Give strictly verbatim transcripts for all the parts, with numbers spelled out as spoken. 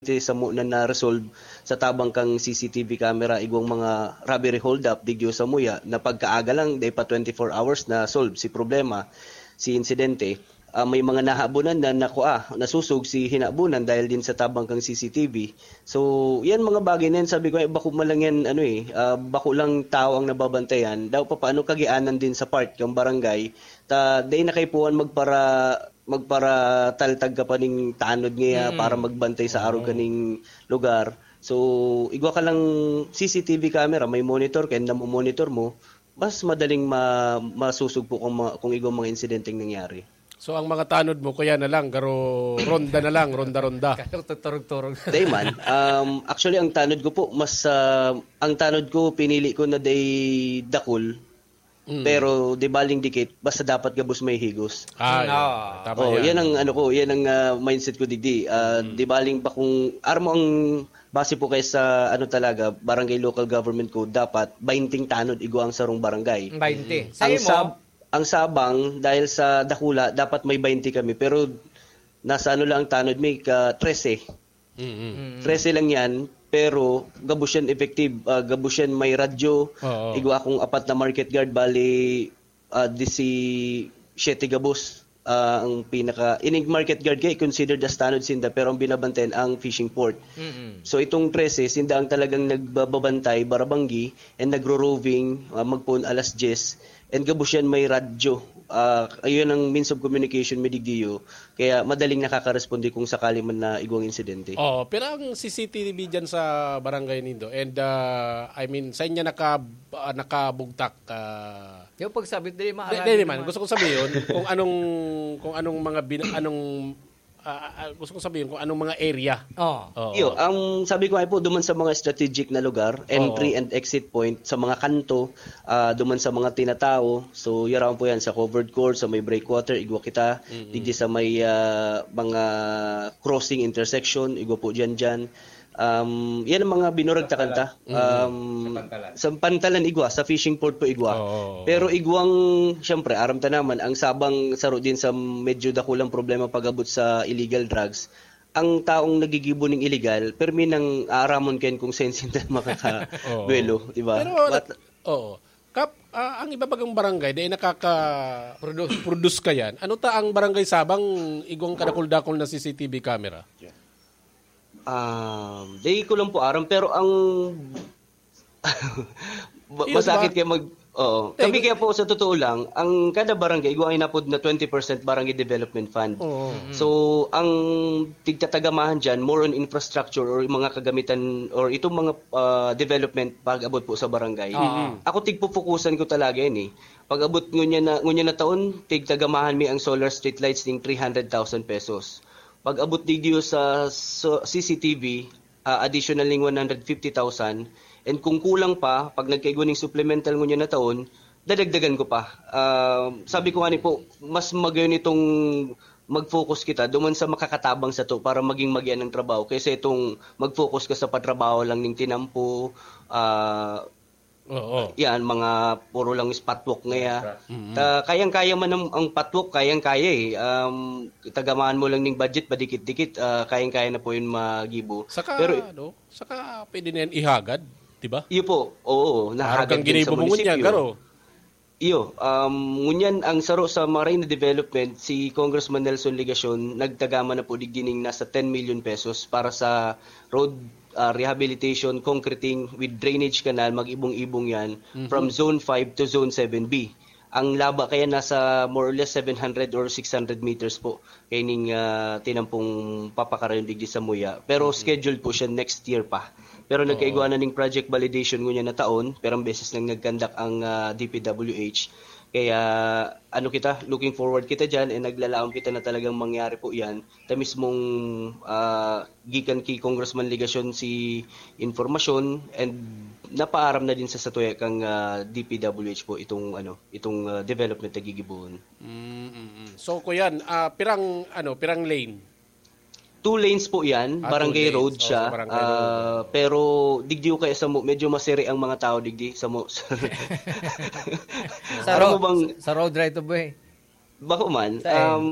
insidente samo na na-resolve sa tabang kan C C T V camera, igwang mga robbery hold-up, digdi samuya, na pagkaaga lang, dai pa twenty-four hours na solve si problema, si insidente. Ah, may mga nahabonan na nakua, nasusog si hinabonan dahil din sa tabang kan C C T V. So, yan mga bagay na yan, sabi ko, eh, bako man lang yan, ano eh, ah, bako lang tao ang nababantayan. Daw pa paano kagianan din sa part kan barangay, ta dai na kaipuhan magpara-, magparataltag ka pa ning tanod niya Mm. para magbantay sa arog Oo. kaning lugar. So, igwa ka lang C C T V camera, may monitor ka, and namo-monitor mo, mas madaling ma-, masusugpo kung ma-, kung igwa mga insidenteng nangyari. So, ang mga tanod mo, kaya na lang, garo ronda na lang, ronda-ronda. Kaya turog-turog. Dai man. Um, actually, ang tanod ko po, mas, ah, ang tanod ko, pinili ko na dai dakul, Mm. pero di baling dikit, basta dapat gabos may higos. Ah, yun. Oo. Tama Oh, yan. yan ang ano ko, yan ang, ah, mindset ko digdi. Ah, Mm. di baling ba kung armo ang base po kay sa ano talaga, barangay local government code, dapat bainting tanod igwa ang sarong barangay. Bainti. Mm. Sa Ang imo? sab-, ang sabang, dahil sa dakula, dapat may bainti kami. Pero nasa ano lang ang tanod, may ka trese. Mm-mm. Mm. Trese lang yan, pero gabos yan effective. Ah, gabos yan may radyo. Oo. Igwa akong apat na market guard, bali, ah, disi-siyete gabos. Ah, ang pinaka, ining market guard kay considered as tanod sinda, pero ang binabantayan ang fishing port. Mm-mm. So, itong trese, sinda ang talagang nagbababantay, barabanggi, and nagro-roving, ah, magpoon alas diyes, and gabos yan may radyo. Ah, ayun ang means of communication mi digdiyo, kaya madaling nakakaresponde kung sakali man na igwang insidente. Oo, pero ang C C T V dyan sa barangay nindo, and, ah, I mean, sa inyo naka-, ah, nakabugtak, ah, Yung pagsabit, dili Di, maaral di, di yun man. naman. Gusto kong sabihin kung anong, kung anong mga bin-, anong, ah, ah, gusto kong sabihin kung anong mga area. Oo. Oo. Iyo, ang sabi ko nga po, duman sa mga strategic na lugar, entry Oo. and exit point, sa mga kanto, ah, duman sa mga tinatao. So, yaraon po yan sa covered court, sa may breakwater, igwa kita. Mm-mm. Digdi sa may, ah, mga crossing intersection, igwa po dyan, dyan. Um, yan ang mga binuragtakan ta. Mm. Um, Sa pantalan. sa pantalan igwa, sa fishing port po igwa. Oo, oo, oo. Pero igwang, siyempre, aram ta naman, ang sabang saro din sa medyo dakulang problema pag-abot sa illegal drugs, ang taong nagigibo ning illegal, permi nang aaramon kayan kung saen sinda makaka-, Oo. duwelo, di ba? Pero, What oo. Kap, ah, ang iba bagang barangay, dahil nakaka-, Produce. produce ka yan. Ano ta ang barangay sabang igwang kadakul-dakul na C C T V camera? Um, di ko lang po aram, pero ang ma-, Yun masakit ba? Kaya mag-, oo. Kami Teka. kaya po, sa totoo lang, ang kada barangay, igwa ang inapod na twenty percent barangay development fund. Oo. Mm. So, ang tigtatagamahan dyan, more on infrastructure or yung mga kagamitan or itong mga, ah, development pag-abot po sa barangay. Oo. Ako, tigpupukusan ko talaga yan eh. Pag-abot ngunyan na, ngunyan na taon, tigtagamahan mi ang solar streetlights ning three hundred thousand pesos. Pag-abot digdiyo sa so-, C C T V, ah, additional ning one hundred fifty thousand. And kung kulang pa, pag nagkaigwa ning supplemental ngunyan na taon, dadagdagan ko pa. Ah, sabi ko nga ni po, mas magayon itong mag-focus kita duman sa makakatabang sato para maging magian ang trabaho kaysa itong mag-focus ka sa patrabaho lang ning tinampo, ah, Oo. yan, mga puro lang spot walk ngaya. Mm-mm. Ta, kayang-kaya man ang, ang patwalk, kayang-kaya eh. Um, tagamahan mo lang ning budget, padikit-dikit, ah, kayang-kaya na po yun magibo. Saka, Pero ano, saka pwede na yan ihagad, di ba? Iyo po, oo, Parang nahagad kang din sa ginibo mo ngunyan, munisipyo. Garo. Iyo, um, ngunyan ang saro sa Marina Development, si Congressman Nelson Legacion, nagtagama na po digdi ning nasa ten million pesos para sa road, ah, rehabilitation, concreting with drainage canal, mag-ibong-ibong yan, Mhm. from Zone five to Zone seven B. Ang laba kaya nasa more or less seven hundred or six hundred meters po. Kaining, ah, tinampong papakarayon digdi sa Muya. Pero Mhm. scheduled po siya next year pa. Pero Oo. nagkaigwa na ning project validation ngunyan na taon, pero ang beses nang nagkandak ang, ah, D P W H. Kaya, ano kita, looking forward kita dyan, and naglalaom kita na talagang mangyari po yan. Ta mismong, ah, gikan ki Congressman Legacion si impormasyon, and napaaram na din sa satuya kang, ah, D P W H po itong, ano, itong, ah, development na gigibohon. Mm, mm, mm. So, kuyan, ah, pirang, ano, pirang lane? Two lanes po yan, Ah, two barangay lanes. road Oh, siya. sa barangay road. Ah, pero digdi ko kaya sa mo, medyo masiri ang mga tao digdi sa mo. Sa Alam mo ro-, bang sa, sa road right of way. Bako man, Saan? um,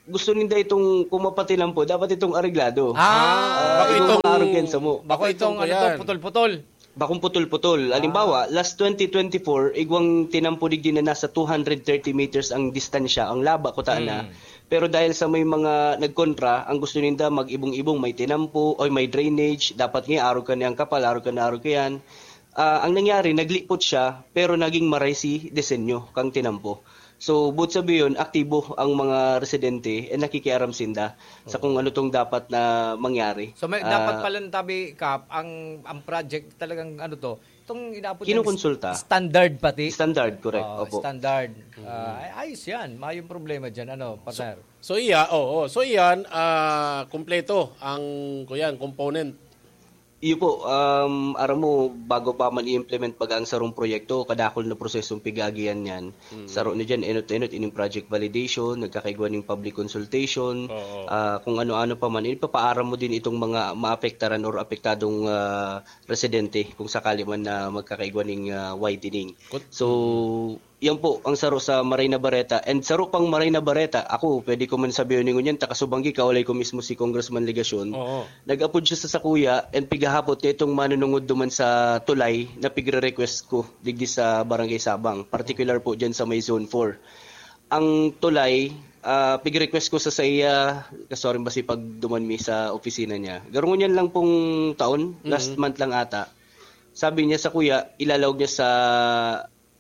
gusto ninda itong kung mapatinampo, dapat itong areglado. Ah, Ah, bako itong itong- mga arugan sa mo. Bako Bako itong itong ano to, kuyan. Putol-putol. Bakong putol-putol. Halimbawa, last twenty twenty-four, igwang tinampo digdi na nasa two hundred thirty meters ang distansya, ang laba ko na. Hmm. Pero dahil sa may mga nagkontra, ang gusto ninda mag-ibong-ibong, may tinampo, o may drainage, dapat nga arog ka niyang kapal, arog ka na arog ka yan. Ah, ang nangyari, naglipot siya, pero naging maray si disenyo kang tinampo. So, but sabi yun, aktibo ang mga residente, eh, nakikiaram sinda sa kung ano tong dapat na mangyari. So may Ah, dapat pala ng tabi, Kap, ang ang project talagang ano to, itong inaapod ng Kinukonsulta. Standard pati. Standard, correct. Oo, Opo. Standard. Ah, ay, ayos yan. Mayong problema dyan. Ano, partner? So iya, oo. So iyan, ah, kumpleto ang kuyan component. Iyo po, um, aram mo, bago pa man i-implement baga ang sarong proyekto, kadakul na prosesong pig-aagihan niyan. Saro na dyan, enot-enot, ining project validation, nagkakaigwa ning public consultation, Oo. ah, kung ano-ano pa man, ipapaaram mo din itong mga maapektaran or apektadong ah, residente kung sakali man na magkakaigwa ning ah, widening. Kut- So, yan po ang saro sa Maray na Bareta. And saro pang Maray na Bareta, ako, pwede ko man sabihin ngunyan, takasubanggi, kaulay ko mismo si Congressman Legacion. Oo. Nag-apod siya sa sakuya and pigahapot niya itong manunungod duman sa tulay na pigre-request ko digdi sa Barangay Sabang, particular po dyan sa may Zone four. Ang tulay, ah, pig-request ko sa saiya, sorry ba si pagduman mi sa opisina niya. Garo ngunyan lang pong taon, last month lang ata. Sabi niya sa kuya, ilalaog niya sa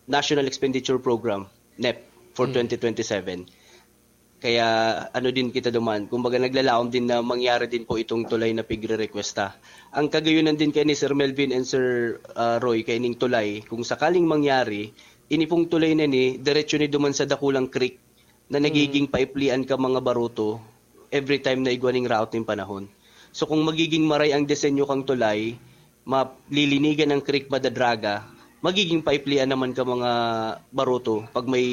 National Expenditure Program, nep, for twenty twenty-seven. Kaya ano din kita duman, kumbaga naglalaom din na mangyari din po itong tulay na pigre-requesta. Ang kagayunan din kay ni Sir Melvin and Sir ah, Roy, kay ning tulay, kung sakaling mangyari, ini pong tulay na ni, diretso ni duman sa dakulang creek na nagiging paiplian ka mga baruto every time na igwa ning raot ning panahon. So kung magiging maray ang disenyo kang tulay, malilinigan ang creek madadraga, magiging paiplian naman ka mga baruto pag may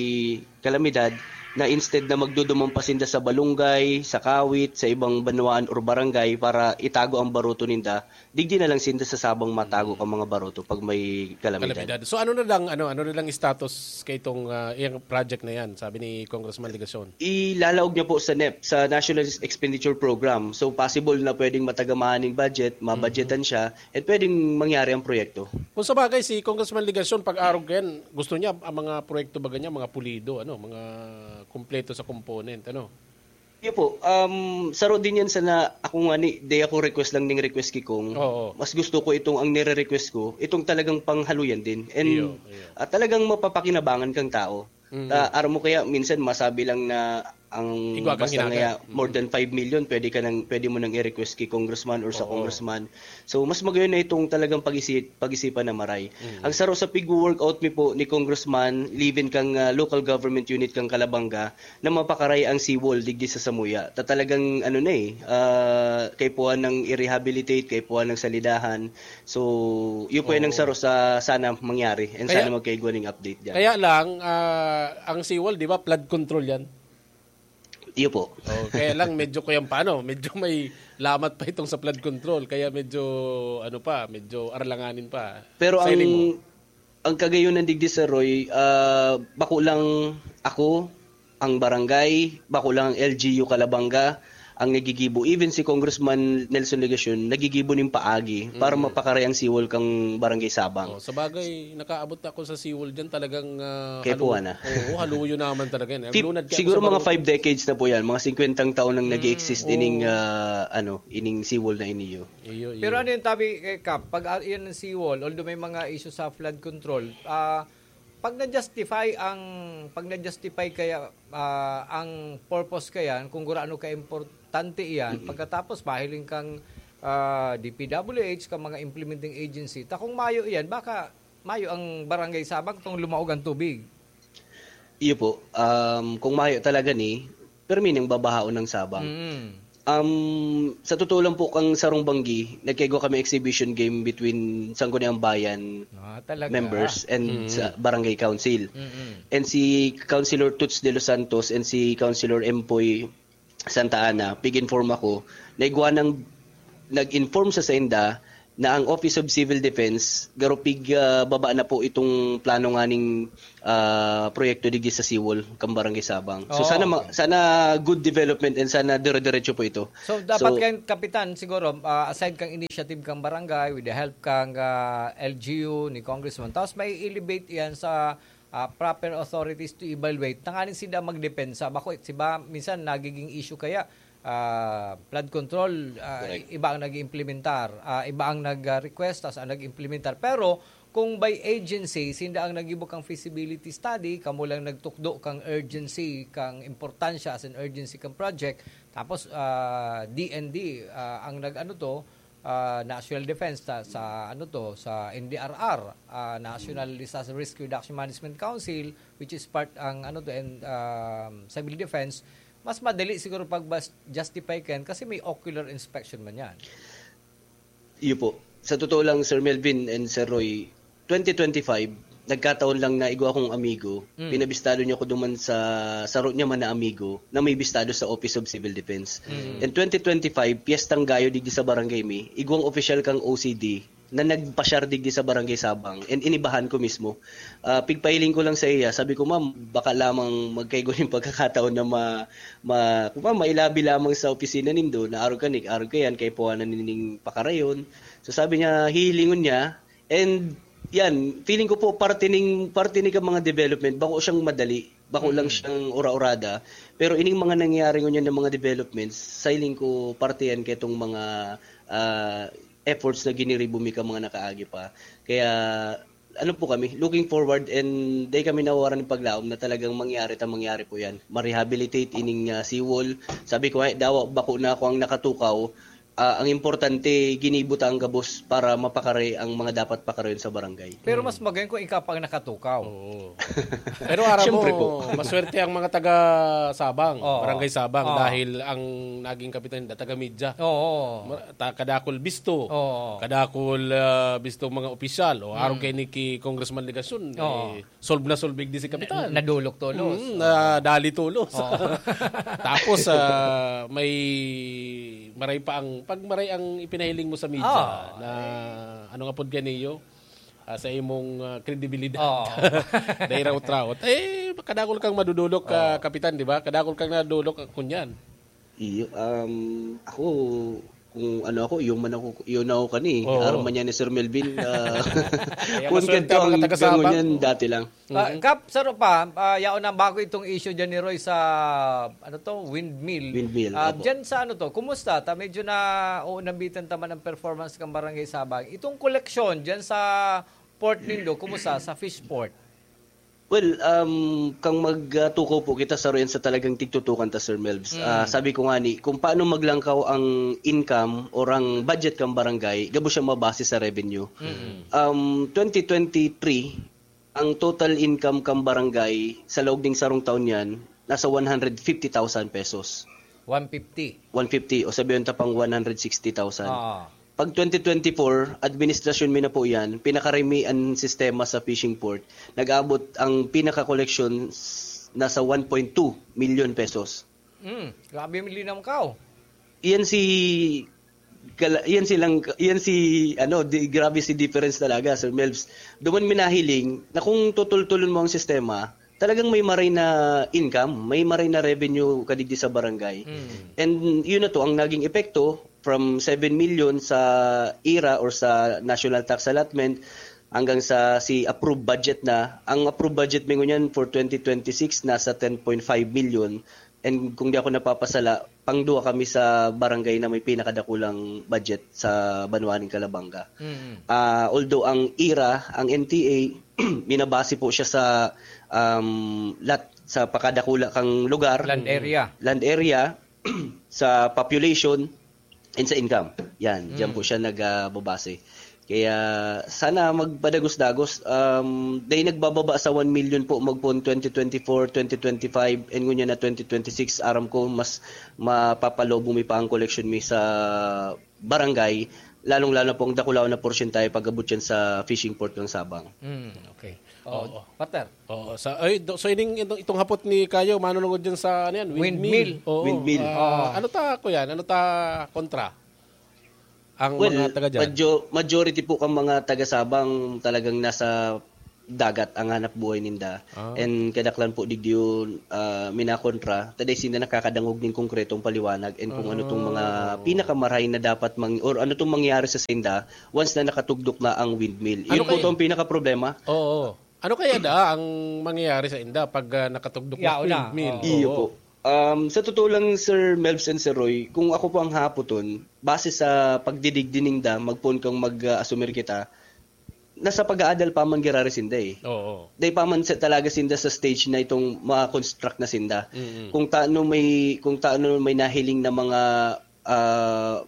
kalamidad na instead na magduduman pa sinda sa balunggay, sa kawit, sa ibang banwaan or barangay para itago ang baruto ninda, digdi na lang sinda sa sabang matago ka mga baruto pag may kalamidad. Kalamidad. So ano na lang ano ano na lang status kay itong ah, iyang project na yan, sabi ni Congressman Legacion. Ilalaog niya po sa nep, sa National Expenditure Program. So possible na pwedeng matagamaan ng budget, mabudgetan siya, at pwedeng mangyari ang proyekto. Kung sa bagay, si Congressman Legacion, pag-arog yan, gusto niya ang mga proyekto ba ganyan, mga pulido, ano, mga kumpleto sa component, ano? Iyo po, um, saro din yan sa na ako nga ni, di ako request lang ning request ki Kong. Oo. Mas gusto ko itong ang nire-request ko, itong talagang panghaluyan din. And Iyo, iyo. ah, talagang mapapakinabangan kang tao. Ah, aram mo kaya minsan masabi lang na ang Igwa kang basta hinaga. Nga, more than five million pwede ka nang pwede mo nang i-request kay congressman or sa Oo. Congressman. So mas magayon na itong talagang pag-isip pag-isipan na maray. Ang saro sa pig-workout mi po ni Congressman, live-in kang ah, local government unit kang Calabanga na mapakaray ang seawall digdi sa Samuya. Ta talagang ano na eh, ah, kaipuhan ng i-rehabilitate, kaipuhan ng salidahan. So, yun po yan ang Oo. saro sa sana mangyari and Kaya- sana magkaigwa ning update dyan. Kaya lang, ah, ang seawall, di ba, flood control yan? Iyo po. Oh, kaya lang, medyo kuyang paano, medyo may lamat pa itong sa flood control. Kaya medyo, ano pa, medyo arlanganin pa. Pero Sa ang hiling mo. ang kagayunan digdi sa Roy, ah, bako lang ako, ang barangay, bako lang ang L G U Calabanga, ang nagigibo. Even si Congressman Nelson Legacion, nagigibo ning paagi para mapakaray ang seawall kang Barangay Sabang. Oh, sa bagay, nakaabot ako sa seawall dyan, talagang ah, Kaya halu- puwa na. Oo, haluyo naman talaga yan. Tip, Nagluunad kaya siguro ako sa mga barong- five decades na po yan, mga singkwentang taon nang nag-exist ining ah, ano, ining seawall na iniyo. Iyo, iyo. Pero ano yung tabi, eh, Kap? Pag ah, yan ang seawall, although may mga issue sa flood control, ah, pag na-justify ang pag na-justify kaya ah, ang purpose kaya kung gurano ka importante iyan, pagkatapos mahiling kang ah, D P W H, kang mga implementing agency, ta kung mayo iyan, baka mayo ang Barangay Sabang tong lumaog ang tubig. Iyo po. Um, kung mayo talaga ni, permi nang babahaon ng Sabang. Mm. Um, sa totoo lang po, kang sarong banggi, nagkaigwa kami exhibition game between Sangguniang Bayan Ah, talaga. members and sa barangay council. Mm-mm. And si Councilor Toots De Los Santos and si Councilor Empoy Santa Ana, pig-inform ako, naigwa nang nag-inform sa sainda na ang Office of Civil Defense, garo pig, ah, baba na po itong plano nganing, ah, proyekto digdi sa seawall kan Barangay Sabang. So, Oo, sana ma-, okay. sana good development and sana dire-diretso po ito. So, dapat So, kayong kapitan, siguro, ah, aside kang initiative kang barangay, with the help kang, ah, L G U ni Congressman, tapos may elevate yan sa, ah, proper authorities to evaluate. Tanganing sila magdepensa. Bako, si ba, minsan nagiging issue kaya, ah, flood control, ah, Correct. iba ang nag-iimplementar, ah, iba ang nag-request, tas ang nag-implementar. Pero kung by agency, sinda ang naggibo kang feasibility study, kamo lang nagtukdo kang urgency, kang importansya as an urgency kang project, tapos, ah, D N D, ah, ang nag-ano to, ah, National Defense sa, sa ano to, sa N D R R, ah, National Disaster Risk Reduction Management Council, which is part ang ano to, and, um, civil defense, mas madali siguro pag bas-, justify ka yan kasi may ocular inspection man yan. Iyo po. Sa totoo lang, Sir Melvin and Sir Roy, twenty twenty-five, nagkataon lang na igwa akong amigo, Mm. pinabistado niya ko duman sa saro niya man na amigo na may bistado sa Office of Civil Defense. Mm. And twenty twenty-five, piyestang gayo digdi sa barangay mi, igwang opisyal kang O C D na nagpasyar digdi sa Barangay Sabang and inibahan ko mismo. Ah, pigpahiling ko lang sa iya, sabi ko, "Ma'am, baka lamang magkaigo yung pagkakataon na ma-, ma-, kung ma'am, mailabi lamang sa opisina nindo, na arog ka ni, arog ka yan, kay puwanan nining pakarayon." So sabi niya, hihilingon niya, and yan, feeling ko po, parte ning, parte ni ka mga development, bako siyang madali, bako lang Mm. siyang ura-urada, pero ining mga nangyayari ngunyan ng mga developments, sa hiling ko, parte yan ketong mga, ah, efforts na giniribo mi ka mga nakaagi pa. Kaya, ano po kami, looking forward and day kami nawawaran ng paglaom na talagang mangyari ta mangyari po yan. Ma-rehabilitate ining, ah, seawall. Sabi ko, "Ay, dawa, bako na ako ang nakatukaw." Ah, ang importante, ginibo ta ang gabos para mapakare ang mga dapat pakarayon sa barangay. Pero mas Hmm. magayon kung ikaw pa ang nakatukaw. Oo. Pero aram Siyempre mo, po. maswerte ang mga taga Sabang, Oo. Barangay Sabang, Oo. dahil ang naging kapitan nila, taga media. Oo. Ma-, ta-, kadakol bisto. Oo. Kadakol, ah, bisto mga opisyal. O, arog Hmm. kay ni ki Congressman Legacion, Oo. eh, solve na solve digdi si kapitan. Na-, nadulok tolos. Mm, Oo. nadali tolos. Oo. Tapos, ah, may maray pa ang, pag maray ang ipinahiling mo sa media Oo. na, ano nga pod kaniyo, ah, sa imong, ah, kredibilidad. Oo. Nairaot-raot. Eh, kadakol kang madudulok, ka Oo. kapitan, di ba? Kadakol kang nadulok, ah, kunyan. Iyo, um, ako, kung ano ako, iyo man ako, iyo na ako kani. Oo. Arog man yan ni Sir Melvin, ah, Kaya kung maswerte ganito ang ang mga taga-Sabang. ganyan, dati lang. Ah, Mhm. Kap, saro pa, ah, yaon na bago itong issue dyan ni Roy sa, ano to, windmill. Windmill, Ah, opo. dyan sa ano to, kumusta? Ta, medyo na uunambitan ta man ang performance ng Barangay Sabang. Itong koleksyon dyan sa port nindo, kumusta? Sa fish port? Well, um, kang magtukaw po kita sa royan sa talagang tigtutukan ta, Sir Melvs. Mm. Ah, sabi ko nga ni, kung paano maglangkaw ang income or ang budget kang barangay, gabo siya mabase sa revenue. Mm. Um, twenty twenty-three, ang total income kang barangay sa laog ning sarong taon yan, nasa one hundred fifty thousand pesos. One fifty. One fifty, o sabihin ta pang one hundred sixty thousand. Oo. Pag twenty twenty-four, administrasyon mi na po yan, pinakarami ang sistema sa fishing port. Nag-abot ang pinaka-collection s-, nasa one point two million pesos. Mm, grabe yung linaw ka, oh. Iyan si, kala-, iyan silang, iyan si, ano, di, grabe si difference talaga, Sir Melvs. Duman minahiling na kung tutultulon mo ang sistema, talagang may maray na income, may maray na revenue kadigdi sa barangay. Mm. And yun na to, ang naging epekto, from seven million sa ira or sa national tax allotment hanggang sa si approved budget na. Ang approved budget mi ngunyan for twenty twenty-six nasa ten point five million. And kung di ako napapasala, pangduwa kami sa barangay na may pinakadakulang budget sa banwa ning Calabanga. Mm. Ah, although ang ira, ang N T A, minabase po siya sa, um, lot, sa pakadakula kang lugar. Land area. Land area, sa population, and sa income. Yan, diyan Mm. po siya nagbabase. Kaya sana magpadagos-dagos. Um, dahil nagbababa sa one million po, magpoon twenty twenty-four, twenty twenty-five, and ngunyan na twenty twenty-six, aram ko mas mapapalobo mi pa ang collection mi sa barangay, lalong-lalo na po ang dakulaw na porsyentahe pag-abot yan sa fishing port ng Sabang. Mm, okay. Oo. Oo. Partner. Oo, sa, ay, do-, so ining, itong, itong hapot ni Kayo, manunungod dyan sa, ano yan, Windmill. windmill. Oo. Windmill. Ah, Oo. ano ta, kuya? Ano ta kontra? ang Well, mga taga dyan? Majority po kang mga taga Sabang talagang nasa dagat ang hanap buhay ninda. Ah. And kadaklan po digdi yun, ah, minakontra, taday sinda nakakadangog ning konkretong paliwanag and kung ano tong mga Ah, oo. pinakamarahay na dapat mang-, or ano tong mangyari sa sinda once na nakatugdok na ang windmill. Ano Yun po kaya? tong pinakaproblema. Oo. Ano kaya da ang mangyayari sa inda pag, ah, nakatugdok na Yaon na. windmill? Oo. Iyo Oo. po. Um, sa totoo lang, Sir Melvs and Sir Roy, kung ako po ang hahapoton, base sa pagdidigdi ninda, magpoon kang mag-, ah, asumir kita, nasa pag-aadal pa man girari sinda eh. Oo. Dai pa man sa, talaga sinda sa stage na itong ma-construct na sinda. Mm-mm. Kung taano may, kung taano may nahiling na mga, ah,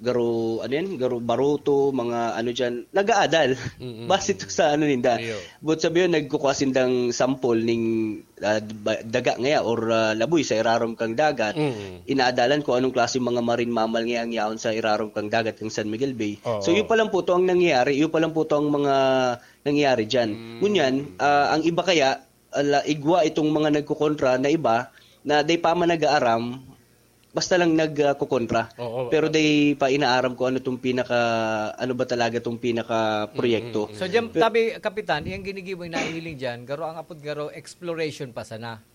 garo, ano yan? Garo baruto, mga ano dyan, nag-aadal. Mm-mm. Base to sa ano ninda. Iyo. But sabi yun, nagkukuha sindang sample ning, ah, ba-, daga ngaya or, ah, laboy sa irarom kang dagat. Mm. Inaadalan kung anong klase mga marine mammal ngaya ang yaon sa irarom kang dagat kang San Miguel Bay. Oo. So, yun pa lang po to ang nangyayari. Yun pa lang po to ang mga nangyayari dyan. Mm. Ngunyan, ah, ang iba kaya, ala, igwa itong mga nagkukontra na iba na dai pa man nag-aaram, basta lang nagkukontra. Oo. Pero dai pa inaaram kung ano tong pinaka, ano ba talaga tong pinaka proyekto. Mm, mm, So, mm. diyan, Pe- tabi, Kapitan, yung ginigibo yung nahihiling dyan, garo ang apod garo, exploration pa sana.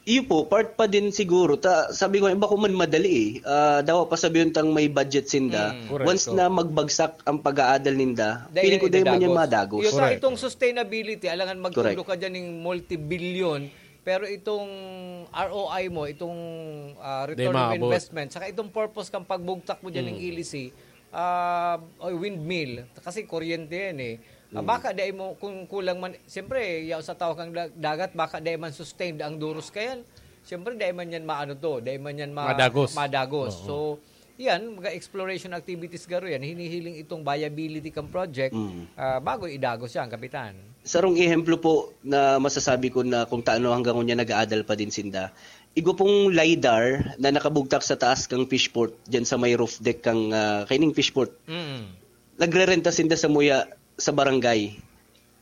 Iyo po, part pa din siguro. Ta, sabi ko, iba ko man madali eh. Ah, dawa pa sabi tang may budget sinda. Mm. Correct, Once oo. na magbagsak ang pag-aadal ninda, Dahil feeling ko dahil man yan idadagos. madagos. Iyo, ta, Correct. itong sustainability, alangan magtulo Correct. ka dyan ng multi-billion, pero itong R O I mo, itong, ah, Di return of maabot. investment, saka itong purpose kang pagbugtak mo dyan ng Mm. ilisi, ah, o windmill, kasi kuryente yan eh. Ah, Mm. baka dai mo, kung kulang man, siyempre, yaw sa tao kang da-, dagat, baka dai man sustained ang duros kayan. Siyempre, dai man yan maano to, dai man yan ma-, Madagos. madagos. Oo. So, yan, mga exploration activities garo yan, hinihiling itong viability kang project, Mm. ah, bago idagos yan, Kapitan. Sarong ehemplo po na masasabi ko na kung taano hanggang ngunyan nag-aadal pa din sinda. Igo pong lidar na nakabugtak sa taas kang fishport, dyan sa may roof deck kang, ah, kaining fishport. Mm. Nagrerenta sinda sa muya sa barangay.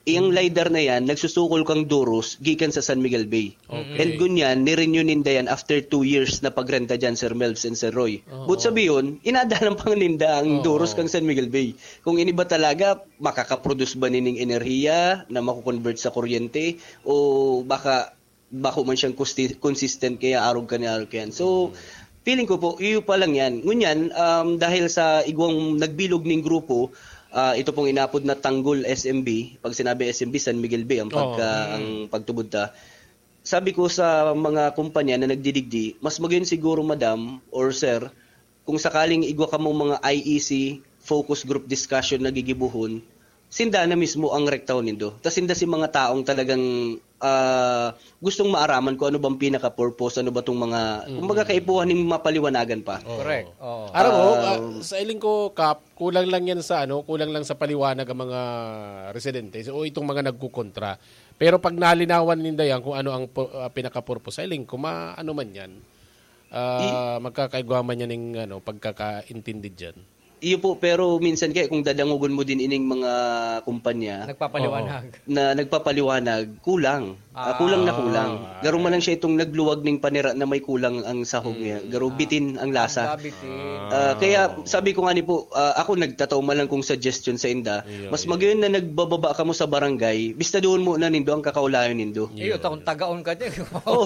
Iyang Mm. lidar na yan, nagsusukol kang duros gikan sa San Miguel Bay. Okay. And ngunyan, nirenew ninda yan after two years na pagrenta dyan, Sir Melvs and Sir Roy. Oo. But sabi yun, inadalan pa ninda ang Oo. duros kang San Miguel Bay. Kung ini ba talaga, makakaproduce ba nining enerhiya na makukonvert sa kuryente? O baka bako man siyang kusti-, consistent kaya arog ka ni arog ka yan. So, Mm. feeling ko po, iyo pa lang yan. Ngunyan, um, dahil sa igwang nagbilog ning grupo, ah, ito pong inapod na Tanggol S M B, pag sinabi S M B, San Miguel Bay, ang pagka, Oo. ang pagtubod ta. Sabi ko sa mga kumpanya na nagdidigdi, mas magayon siguro, madam or sir, kung sakaling igwa kamo mga I E C, focus group discussion na gigibohon, sinda na mismo ang rektahon nindo. Tas sinda si mga taong talagang, ah, gustong maaraman kung ano bang pinaka-purpose, ano ba tong mga, Mm. kumbaga, kaipuhan ning mapaliwanagan pa. Oo. Correct. Oo. Aram mo, Um, ah, sa iling ko, Kap, kulang lang yan sa, ano, kulang lang sa paliwanag ang mga residente o itong mga nagkukontra. Pero pag nalinawan ninda yan kung ano ang pu-, ah, pinaka-purpose, sa iling ko, ma-, ano man yan, ah, I- magkakaigwa man yan ng, ano, pagkakaintindi dyan. Iyo po, pero minsan kaya kung dadangogon mo din ining mga kumpanya Nagpapaliwanag. Oo. na nagpapaliwanag, kulang. Ah, Ah. kulang na kulang. Ah, Garo man lang okay. siya itong nagluwag ning panira na may kulang ang sahog niya. Mm. Garo Ah. bitin ang lasa. Ang gabitin. Ah, kaya Ah. sabi ko nga ni po, ah, ako nagtataw man lang kong suggestion sa inda. Iyo, Mas iyo. magayon na nagbababa kamo sa barangay, bista doon mo na nindo ang kakaulayon nindo. Iyo, Iyo, takong iyo. tagaon ka dyan. Oh.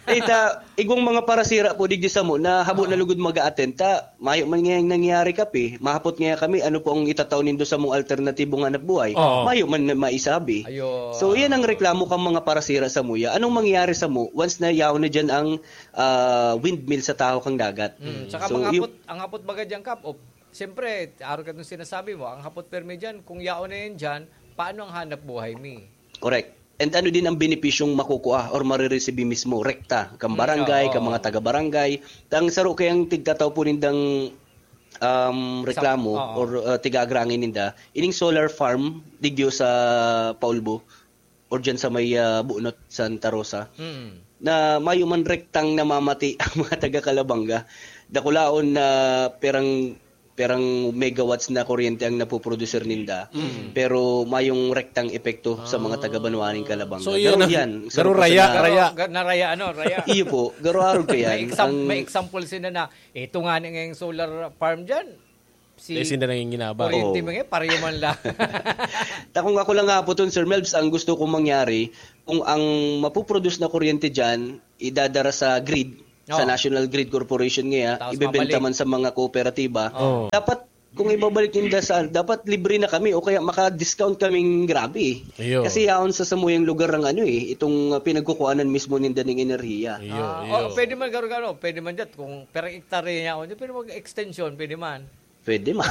Eh, ta, igwang mga parasira po digdi samo na habo na Oo. lugod mag-attend ta. Mayo man ngayang nangyari, Kap, eh. Mahapot ngaya kami, ano po ang itatao nindo sa mong alternatibong hanap buhay? Oo. Mayo man na maisabi. Ayo. So, yan ang reklamo kang mga parasira sa muya. Anong mangyayari sa mo once na yaon na dyan ang, ah, windmill sa tahaw kang dagat? Mm, tsaka So, mga yung hapot, ang hapot baga dyan, Kap, o, siyempre, araw ka nung sinasabi mo, ang hapot permi dyan, kung yaon na yan dyan, paano ang hanap buhay mi? Correct. And ano din ang benepisyong makukuha or marireceive mismo, rekta, kang Mm, barangay, oo, kang oo. mga taga-barangay. Ang saro kayang tigtataw po nindang, um, Sa reklamo oo. or, uh, tiga-agrangin ninda, ining solar farm, digyo sa Paulbo, or dyan sa may, uh, Bunot, Santa Rosa, Mm. na mayo man rektang namamati ang mga taga-Calabanga. Dakulaon na perang perang megawatts na kuryente ang napoproducer ninda, pero mayong rektang epekto sa mga taga-banwa ning Calabanga. So, iyan Garo ang- yan, garo sarap raya, sa- raya. Ga- naraya, ano, raya. Iyo po, garo arog ka yan. May, exam- Ang- may example sila na, ito nga ni ngayong solar farm dyan, si Dahil sila nanginginaba. Kuryente Oo. mo ngayon, pareho man lang. Takong ako lang nga po ton, Sir Melbs, ang gusto kong mangyari, kung ang mapuproduce na kuryente dyan, idadara sa grid, sa Oo. National Grid Corporation ngayon, Tapos ibebenta mabalik. man sa mga kooperatiba, Oo. dapat kung ibabalik ninda sa, dapat libre na kami o kaya maka-discount kaming grabe. Iyo. Kasi yaon sa samuyang lugar ang ano eh, itong uh, pinagkukuhanan mismo ninda ng enerhiya. Iyo, Ah, iyo. oh, pwede man garo-garo, pwede man dyan. Kung per hektarya niya, oh, pwede mag-extension, pwede man. Pwede ma.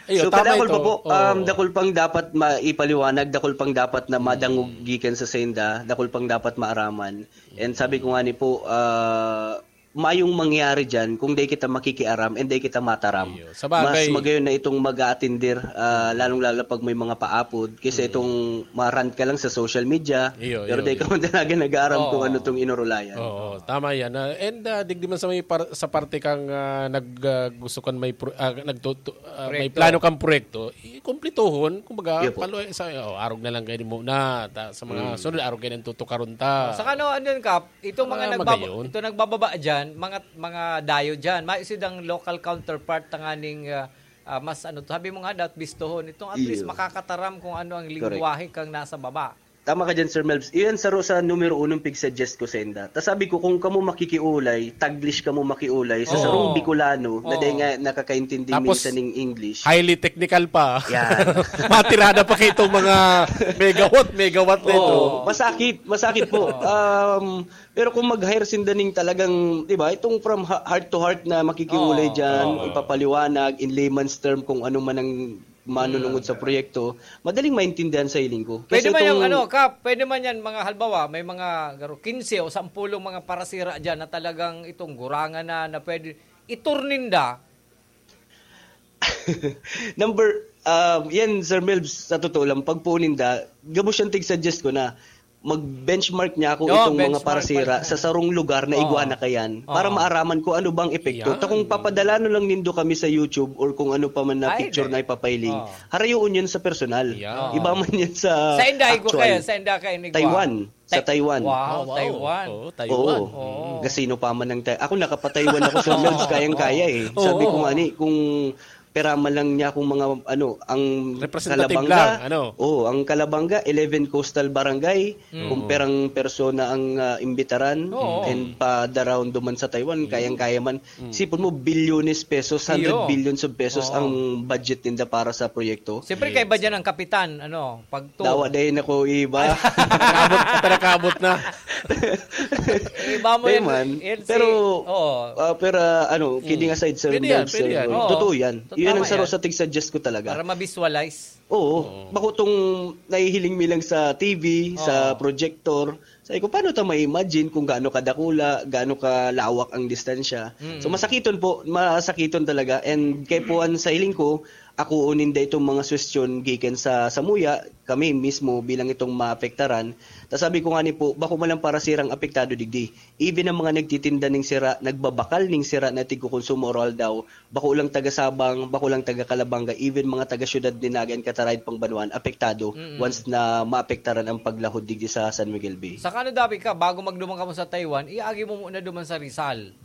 Iyo, So, tama kadakol ito. pa po, Oo. um, dakol pang dapat maipaliwanag, dakol pang dapat na madangog gikan sa senda, dakol pang dapat maaraman. And sabi ko nga ni po, ah, mayong mangyari dyan kung di kita makikiaram and di kita mataram. Iyo. Sa bagay- Mas magayon na itong mag-aatindir, ah, lalong-lalo pag may mga paapod, kaysa itong ma-rant ka lang sa social media, Iyo, pero iyo, di ka iyo. man talaga nag-aaram kung Oo. ano itong inurulayan. Oo, tama yan. Ah, and ah, digdi man sa may par- sa parte kang ah, nag ah, gusto kan may pro- ah, nagtutu- ah, may Proyekto. plano kang proyekto, ikumplituhon, kumbaga, Iyo po. palo sa oh, arog na lang kayo muna, ta, sa mga sunod arog kayo nang tutukaron ta. Saka ano, ano yun, Kap? Itong mga Ah, nagbaba- magayon. ito nagbababa dyan, mga mga dayo dyan, maisidang local counterpart tanganing ah, ah, mas ano, sabi mo nga, dapat bistohon. Itong at least Iyo. makakataram kung ano ang Correct. lingwahe kang nasa baba. Tama ka dyan, Sir Melbs. Iyan saro sa numero unong pig-suggest ko senda. Ta sabi ko, kung kamo makikiulay, Taglish kamo makiulay, sa Oo. sarong Bicolano, na Oo. dahil nga nakakaintindi Tapos, minsan ng English. Highly technical pa. Yan. Matirada pa kayo itong mga megawatt, megawatt na ito. Oo, masakit, masakit po. Um, pero kung mag-hire sinda ning talagang, di ba, itong from ha- heart to heart na makikiulay Oo, dyan, oo. ipapaliwanag in layman's term kung ano man ang manunungod sa proyekto, madaling maintindihan sa hiling ko. Pwede Kasi man yung itong- ano, Kap, pwede man yan mga halbawa, may mga garo, quince o sampulong mga parasira dyan na talagang itong gurangan na, na pwede iturninda. Number, ah, yan, Sir Melbs, sa totoo lang, pag puunin da, gabos siyang tig-suggest ko na mag-benchmark niya ako Oo, itong mga benchmark parasira pa. sa sarong lugar na Oo. igwa na kayan para Oo. maaraman ko ano bang epekto. Yan. Ta kung papadala no lang nindo kami sa YouTube or kung ano pa man na Ay, picture di. na ipapailing, Oo. harayoon yun sa personal. Yan. Iba man yan sa Sa inday ko actual. Kayo, sa inday kayo ni Gua. Taiwan. Sa Tai- Taiwan. Wow, Oh, wow. Taiwan. Oh, Taiwan. Oo. Gasino pa man ang Taiwan. Ako nakapataiwan ako sa Melbs, kayang-kaya eh. Sabi ko Oo. nga ni, kung pera man lang niya kung mga ano, ang Representative Kalabanga, lang, ano? Oo, ang Kalabanga, eleven coastal barangay, kung perang persona ang ah, imbitaran Oo. and pa-around duman sa Taiwan, kayang-kaya man. Sipon mo, bilyones pesos, hundred Iyo. billions of pesos Oo. ang budget ninda para sa proyekto. Siyempre, kaiba dyan ang kapitan, ano, pag to. Dawa dahil na ko iba. Abot, pinakabot na. Iba mo Di yan, man. yan si- Pero, oo. ah, pero, ah, ano, kidding aside, Sir Pwede yan, Melbs, pwede yan. eh, Oo. Totoo yan. Totoo, Yun ang tama saro yan. sa tig-suggest ko talaga. Para ma-visualize. Oo. Bako tong nahihiling mi lang sa T V, sa Oo. projector. Sabi ko, paano ta ma-imagine kung gaano kadakula, gaano kalawak ang distansya? So, masakiton po, masakiton talaga. And kay puan sa hiling ko, ako uninda itong mga suwestyon gikan sa samuya, kami mismo bilang itong maapektaran. Ta sabi ko nga ni po, bako man lang para sirang apektado digdi. Even ang mga nagtitinda ning sira, nagbabakal ning sira na tigkokonsumo oral daw, bako lang taga Sabang, bako lang taga Calabanga, even mga taga syudad ni Naga and Cataraid pang banwaan, apektado once na maapektaran ang paglahod digdi sa San Miguel Bay. Saka ano dapat ka, bago magduman ka mo sa Taiwan, iagi mo muna duman sa Rizal.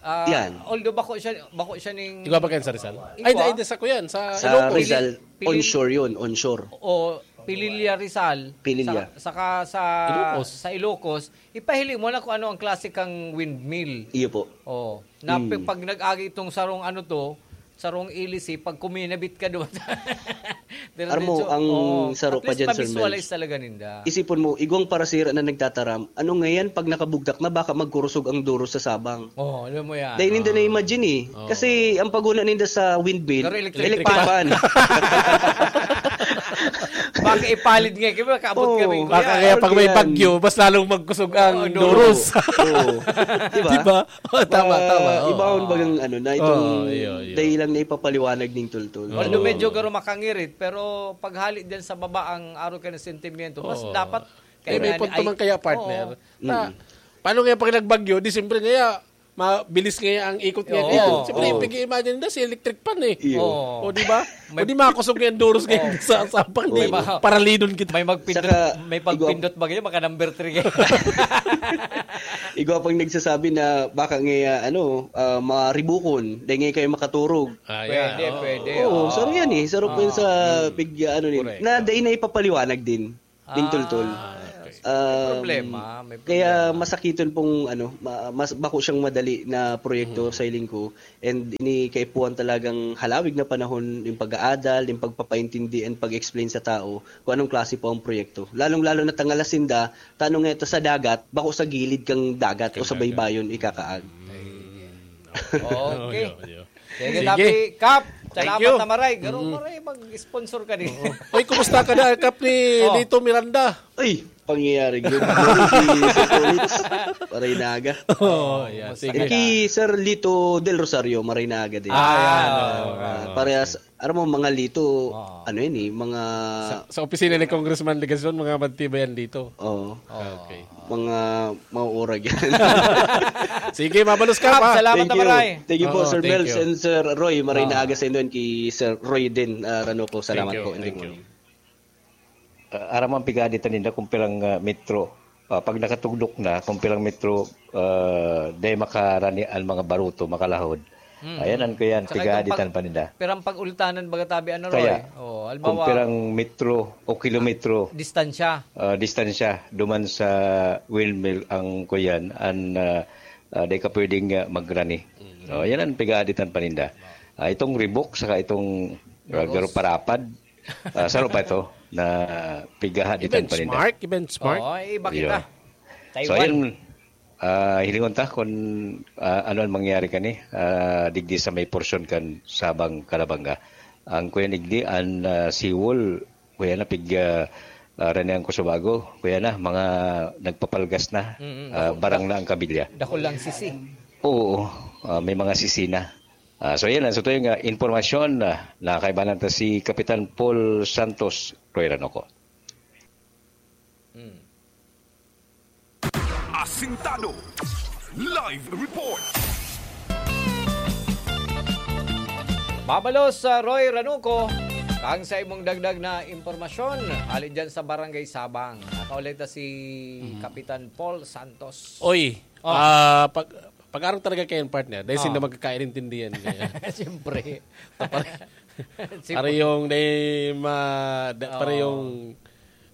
Ah, Yan. Although bako siya, bako siya ning... Igwa ba kayo sa Rizal? Igwa. Ay, ay, di sa kuyan. Sa Sa Ilocos. Rizal, Pili- onshore yun, onshore. O Pililla Rizal. Pililla. Saka, saka sa, Ilocos. sa Ilocos. Ipahili mo na kung ano ang klase kang windmill. Iyo po. Oh, na pag nag-agi itong sarong ano to, sarong ilisi, pag kuminabit ka doon. Armo, ang saro pa dyan, Sir Visualize Mels. Talaga ninda. Isipon mo, igwang parasira na nagtataram, ano ngayon pag nakabugdak na baka magkurusog ang duro sa Sabang? Oh, alam mo yan. Dahil hindi Oh. na-imagine eh. Oh. Kasi ang paguna ninda sa windmill, Pero electric electric fan. Baka ipalid nga, kaya kaabot Oo. kami. Baka Kuya. kaya pag may Yan. bagyo, mas lalong magkusog ang Oh, duros. Oo. Diba? Diba? Oh, tama, Ah, tama. Oh. Iba ang bagang ano, na itong Oh, iyo, iyo. dahil lang na ipapaliwanag ng tultul. Although Oo. medyo garo makangirit, pero paghali din sa baba ang araw ka ng sentimiento, mas Oo. dapat Eh, may kailangan punto ay- man kaya, partner. Oo. Na, paano kaya pag nagbagyo? Di siyempre kaya, Mabilis nga ang ikot nga Oo, dito. Siyempre, oo. pag-imagine na si electric fan eh. Iyo. Oo. O di ba? May- O di makosog nga yung doors ngayon Oo. sa sapang May di ma- paralidon kita. May magpindot, Saka, may pagpindot ba ganyan? Maka number three ganyan. Igwa pang nagsasabi na baka nga ano, ah, maribukon, dahil ngayon kayo makaturog. Ah, Pwede, yan, oo. pwede. Oo, Oo. sorry yan eh. Sarap Oo. yun sa pig, ano, Correct. na dahil na ipapaliwanag din. Din Ah. tultol. Ah, okay. Um, Problema, may Kaya problema. masakit yun pong ano, ma- mas bako siyang madali na proyekto sa hiling ko. And ini kaipuhan talagang halawig na panahon yung pag-aadal, yung pagpapaintindi and pag-explain sa tao kung anong klase po ang proyekto. Lalong-lalo na tangala sinda, tanong nga ito sa dagat, bako sa gilid kang dagat o sa baybayon ikakaag. Okay. Yo, yo. Sige, Sige. Tapi Kap, Thank salamat you. na maray. Garo maray, mag-sponsor ka din. Uy, kumusta ka na, Kap ni Oh. Lito Miranda? Ay, pangyayari. Good morning, si Sir Tolits. Paray naga. Oh, yeah. Kumusta Sige. ka? At kay Sir Lito Del Rosario, maray naga din. Ah, yan. Ah, Oh, Ah, oh. parehas, aram mo, mga Lito, Ah. ano yun eh, mga... Sa, sa opisina ni Congressman Legacion, mga magtibayan dito. Oo. Okay. Mga mauurag yan. Sige, mabalos ka Kap, pa. salamat Thank na you. maray. Thank you po, Oo, Sir thank Mel you. and Sir Roy. Maray Oo. na aga sa inyo kay Sir Roy din. Ah, Rano ko, salamat Thank you, po. And thank good you. morning. Ah, aram ang pigadi ta ninda kung pirang ah, metro. Ah, pag nakatugdok na, kung pirang metro, ah, dai makarani ang mga baruto, makalahod. Mm. Ayan, an ko yan, Saka pigadi itong pag- tan paninda. Pirang pag-ultanan baga tabi, ano, Roy? Kaya, Oh, kung halimbawa, pirang metro o kilometro, distansya. ah, distansya, duman sa windmill ang kuyan, an ah, ah, dai ka pwedeng ah, magrani. Oh, yan ang pigadi tan paninda. Ah, itong ribok, saka itong ah, Ribos. garo parapad, ah, saro pa ito na pigadi tan paninda. I-benchmark, i-benchmark. Oo, iba kita. Yeah. Taiwan. So, yan, ah, hilingon ta kung ah, ano ang mangyari kani ah, digdi sa may porsyon kan Sabang Calabanga. Ang kuya nigdi, an ah, seawall, kuya na pig ah, ah, Rene ang Kusubago, kuya na, mga nagpapalgas na, Mm, mm. ah, barang na ang kabilya. Dakul lang sisi. Oo, ah, may mga sisi na. Ah, so yan, ang sa tuwing ah, impormasyon ah, na kaibanan ta si Kapitan Paul Santos, Roy Ranoco. Asintado. Live report. Mabalos sa Roy Ranuco, kang sa imong dagdag na impormasyon, hali dyan sa Barangay Sabang. Nakaulit na si Kapitan Paul Santos. Oy, Oh. ah, pag pag-arog talaga kayo, partner, dahil Oh. sila magkakaintindihan kaya. Siyempre. Siyempre. Para yung dahil ma, da, para Oo. yung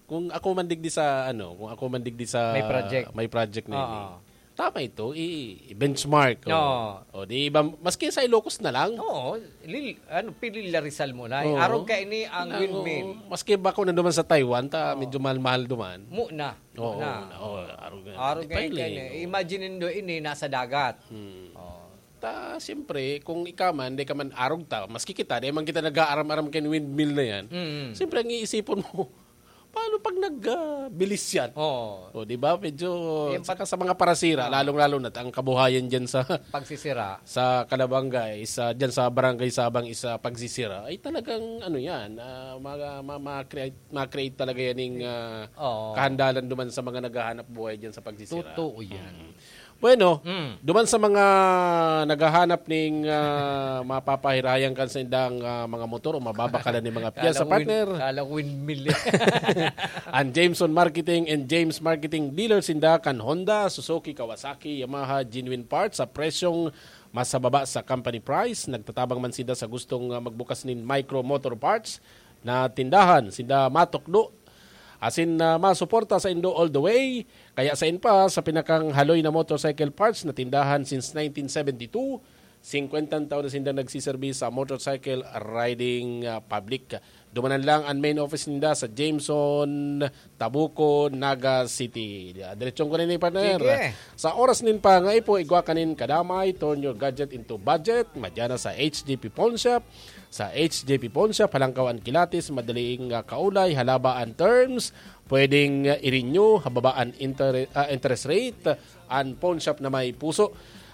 kung ako man digdi sa ano, kung ako man digdi sa May project. may project na yun. Oo. Eh. Tama ito, i- i-benchmark. Oh. Oo. O di iba, maski sa Ilocos na lang. Oo, lil, ano, pili Larisal mo na. Oo. Arog ka ini ang Ano, windmill. Maski ba kung nanduman sa Taiwan, ta medyo mahal-mahal duman. Muna. Oo, Muna. na, oh, arog na. Arog Di pa kayo yun kayo eh. eh. Imagine nindo ini, nasa dagat. Hmm. Oh. Ta, siyempre, kung ikaw man, di ka man arog ta, maski kita, di man kita nag-aaram-aram kay windmill na yan. Mm. Siyempre, ang iisipon mo, paano pag nagbilis yan? Oo. O, di ba? Medyo, Yung saka pat- sa mga parasira, Ah. lalong-lalo na, ang kabuhayan dyan sa, Pagsisira. sa Calabanga, is, ah, dyan sa Barangay Sabang, is, ah, pagsisira, ay talagang, ano yan, ah, ma, ma, ma-create, ma-create talaga yan yung ah, Oo. kahandalan duman sa mga naghahanap buhay dyan sa pagsisira. Totoo yan. Bueno, Mm. duman sa mga naghahanap ning ah, mapapahirayan kan sa indang ah, mga motor o mababakalan ni mga piyesa, Kala ko win- partner. Kala ko windmill. Ang Jameson Marketing and James Marketing Dealer sinda kan Honda, Suzuki, Kawasaki, Yamaha, genuine parts sa presyong mas sa baba sa company price. Nagtatabang man sinda sa gustong ah, magbukas nin micro motor parts na tindahan. Sinda matukdo asin ah, masuporta sa indo all the way. Kaya sa inpa, sa pinakang haloy na motorcycle parts na tindahan since nineteen seventy-two, singkwentang taon na sinda nagsiserbi sa motorcycle riding ah, public. Dumanan lang ang main office ninda sa Jameson, Tabuco, Naga City. Diretsyon ko na ni partner. Sige. Sa oras nin pangaipo, igwa kanin kadamay, turn your gadget into budget. Madya na sa H J P Pawn Shop. Sa H J P Pawn Shop, halangkaw an kilatis, madaling ah, kaulay, halaba an terms, pwedeng ah, i-renew, hababa an inter- ah, interest rate, an pawn shop na may puso.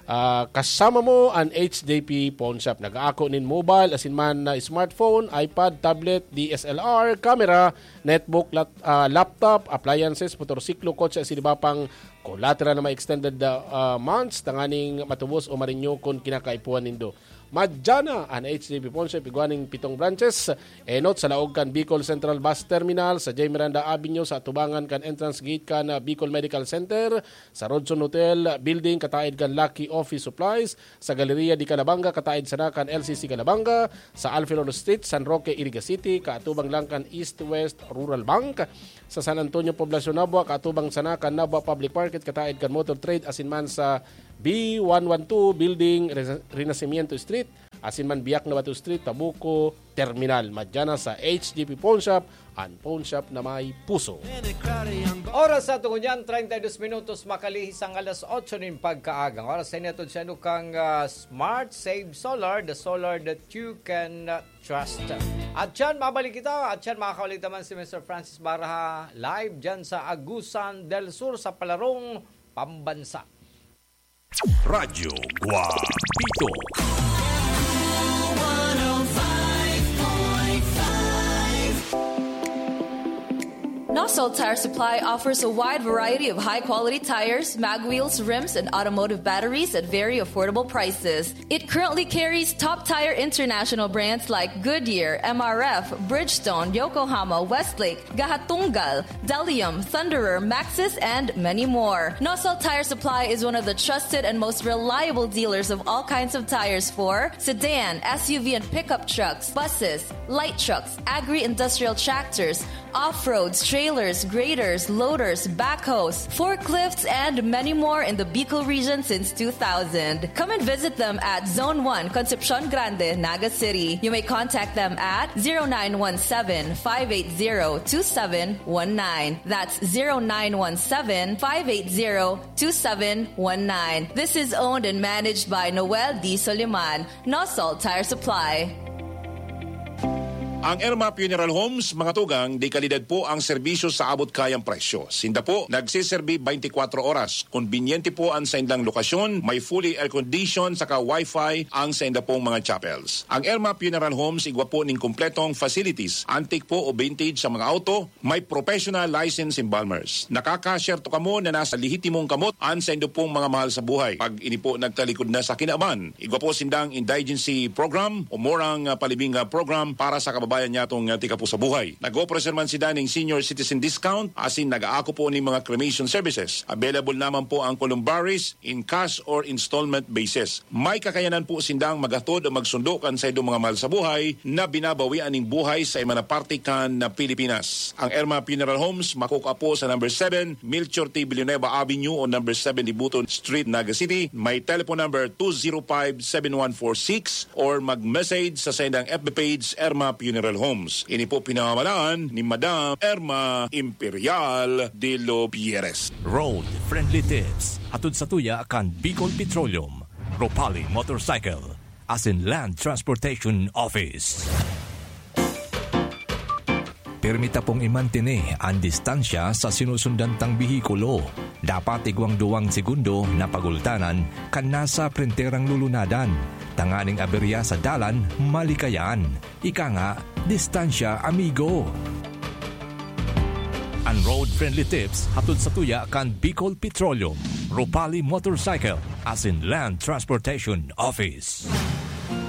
Ah, kasama mo an H J P Pawn Shop. Nag-aako nin mobile, asin man na smartphone, iPad, tablet, D S L R, camera, netbook, lat- ah, laptop, appliances, motorsiklo, kotse, asin iba pang collateral na may extended, ah, ah, months, tanganing matubos o ma-renew kun kinakaipuhan nindo. Madyana an H D B Pawnshop, igwa ning pitong branches, enot sa laog kan Bicol Central Bus Terminal, sa J. Miranda Avenue, sa atubangan kan entrance gate kan, ah, Bicol Medical Center, sa Rodson Hotel Building, kataed kan Lucky Office Supplies, sa Galeria de Calabanga, kataed sana kan L C C Calabanga, sa Alfilor Street, San Roque, Iriga City, kaatubang lang kan East West Rural Bank, sa San Antonio, Poblacion, Nabua, kaatubang sana kan Nabua Public Market, kataed kan Motor Trade, asin man sa B one one two Building, Rena-, Renacimiento Street, asin man Biak na Bato Street, Tabuco Terminal. Madyana sa H D P Pawnshop, an pawnshop na may puso. Oras sa tungo niyan, treinta y dos minutos makalihis ang alas otso nin pagkaaga. Ang oras sa inyo, atod sa inyo kang, ah, Smart Save Solar, the solar that you can, ah, trust. At yan, mabalik kita. At yan, makakaulit naman si Mister Francis Baraha, live dyan sa Agusan del Sur, sa Palarong, Pambansa. Radyo Guapito. Nosol Tire Supply offers a wide variety of high-quality tires, mag wheels, rims, and automotive batteries at very affordable prices. It currently carries top tire international brands like Goodyear, M R F, Bridgestone, Yokohama, Westlake, Gahatunggal, Delium, Thunderer, Maxxis, and many more. Nosol Tire Supply is one of the trusted and most reliable dealers of all kinds of tires for sedan, S U V, and pickup trucks, buses, light trucks, agri-industrial tractors, off-roads, trailers, graders, loaders, backhoes, forklifts, and many more in the Bicol region since two thousand. Come and visit them at Zone one, Concepcion Grande, Naga City. You may contact them at zero nine one seven, five eight zero, two seven one nine. That's zero nine one seven, five eight zero, two seven one nine. This is owned and managed by Noel D. Soliman, Nosol Tire Supply. Ang Irma Funeral Homes, mga tugang, de kalidad po ang serbisyo sa abot-kayang presyo. Sinda po nagseserbi twenty-four oras. Kombinyente po ang saindang lokasyon, may fully air-conditioned saka wifi ang sainda pong mga chapels. Ang Irma Funeral Homes, igwa po ning kompletong facilities, antique po o vintage sa mga auto, may professional license embalmers. Nakakasyerto kamo na nasa lehitimong kamot an saindo pong mga mahal sa buhay. Pag ini po nagtalikod na sa kinaban, igwa po sindang indigency program o murang, ah, palibing, ah, program para sa kababayan nyatong, ah, tika po sa buhay. Nag-opreser man sinda ning senior citizen discount, asin nag-aako po ning mga cremation services. Available naman po ang columbaries in cash or installment basis. May kakayanan po sindang maghatod o magsundo kan saindong mga mahal sa buhay na binabawian ning buhay sa iba na parte kan na Pilipinas. Ang Irma Funeral Homes makukua po sa number seven, Melchor T. Villanueva Avenue o number seven Dibuton Street, Naga City. May telephone number two zero five, seven one four six or mag-message sa saindang F B page, Irma Funeral Homes. Ini po pinamamalaan ni Madam Irma Imperial de los Pierres. Road Friendly Tips, hatod sa tuya kan Bicol Petroleum, Ropali Motorcycle, asin Land Transportation Office. Pirmi ta pong imantene an distansya sa sinusundan tang behikulo. Dapat igwang duwang segundo na pagultanan kan nasa prenterang lulunadan, tanganing aberya sa dalan malikayan. Ika nga, distansya, amigo. An Road Friendly Tips hatod sa tuya kan Bicol Petroleum, Ropali Motorcycle, asin Land Transportation Office.